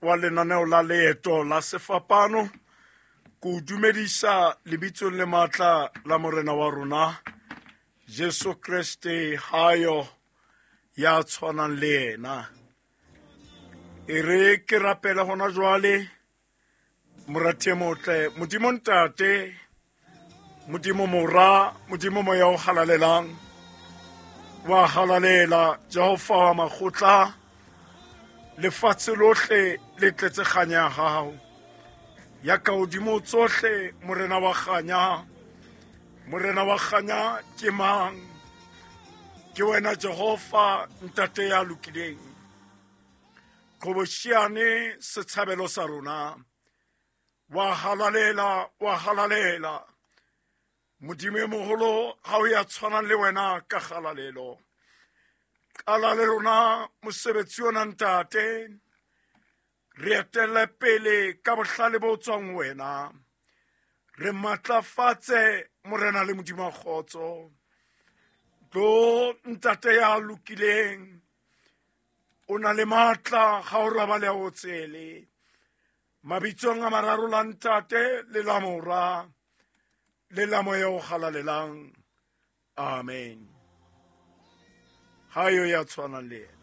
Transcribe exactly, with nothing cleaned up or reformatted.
Wa lenaneo la Leeto la Sefapano, ke o dumedisa lebitsong le matla la Morena wa rona Jesu Kreste, hayo ya tshwanang le yena. E re ke rapela hona jwale, morati e motle, Modimo Ntate, Modimo Mora, Modimo Moya o halalelang, wa halalela Jehova wa makgotla, lefatshe lohle le tletse kganya ya hao. Ya ka hodimo tsohle, Morena wa kganya, Morena wa kganya ke mang? Ke wena Jehova, Ntate ya lokileng. Qhobosheane setshabelo sa rona. Wa halalela, wa halalela. Modimo e moholo, ha o ya tshwanang le wena ka kgalalelo. Qala le rona mosebetsi ona Ntate, re etelle pele ka bohlale bo tswang ho wena. Re matlafatse Morena le Modimo wa kgotso. Tlo Ntate ya lokileng, o na le matla ha o robale a o tsele. Mabitsong a mararo la Ntate le la Mora le la Moya o halalelang. Amen. Ha yo ya tshwanang le yena.